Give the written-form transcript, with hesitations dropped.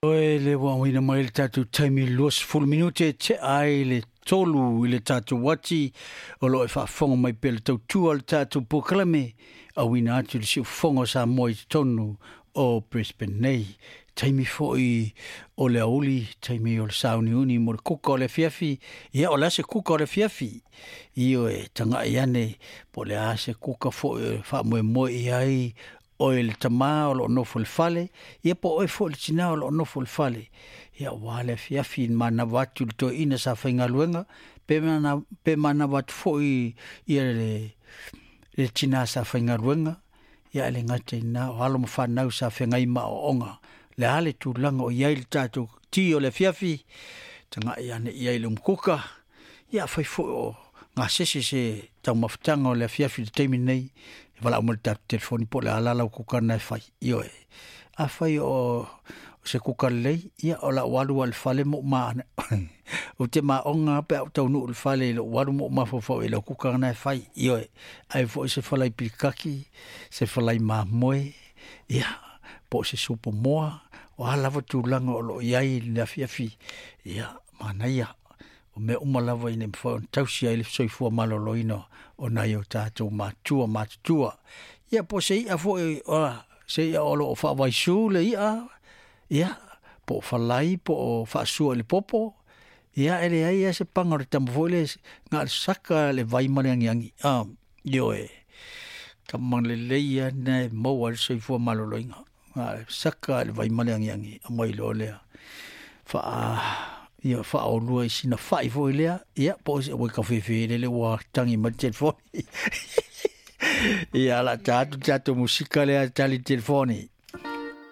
Oe le ua auina mai le tatou taimi 20 minute e tea ai le 3 i le tatou ati o lo o e faafofoga mai pea le tautua o le tatou polokalame auina atu i le siufofoga o Samoa i totonu o Brisbane nei. Taimi foi o le aoauli, taimi o le sauniuni mo le kuka o le afiafi. Ia, o le a se kuka o le afiafi? Ioe, tagai ane po o le a se kuka foi e faamoemoe i ai oe le tama o lo o nofo i le fale, ia po o oe foi le tina o lo o nofo i le fale. Ia, aua le afiafi manava atu i le toeaina sa faigaluega, pe, mana, pe manava atu foi ia le, le tina sa faigaluega, ia e le gata i lena, o alo ma fanau sa feagai ma aoaoga. Le a le tulaga o i ai le tatou ti o le afiafi, tagai ane i ai i le umukuka, ia afai foi o gasese se taumafataga o le afiafi i le taimi lenei, e valaau mai i le tatou telefoni po o le a la lau kuka lena e fai. Ioe. Afai o se kuka lelei, ia o lau alu lava i le fale ma ou ma ou te maoga pe a ou taunuu i le fale i lou alu ma ou mafaufau i lau kuka lena e fai. Ioe. Ai foi se falai pilikaki, se falai mamoe, ia, po o se supo moa, o a lava tulaga o lo o i ai i le afiafi, ia, manaia. O mea uma lava ina ia mafai ona tausi ai le soifua maloloina o nai o tatou matua matutua. Ia po o se i'a foi, o se i'a o lo o faavaisu le i'a, ia, po o falai po o faasua i le popo, ia e leai lava se paga o le tama foi lea na o le saka le vai ma le agiagi. Ioe, tama lelei lava lena e maua ai le soifua maloloina. Na o le saka le vai ma le agiagi, aumai loa lea faa ia faaolua i sina fai foi lea, ia po o se ua kafefe lele ua tagi mai le telefoni. Ia, o le a ta atu le tatou musika lea e tali i le telefoni.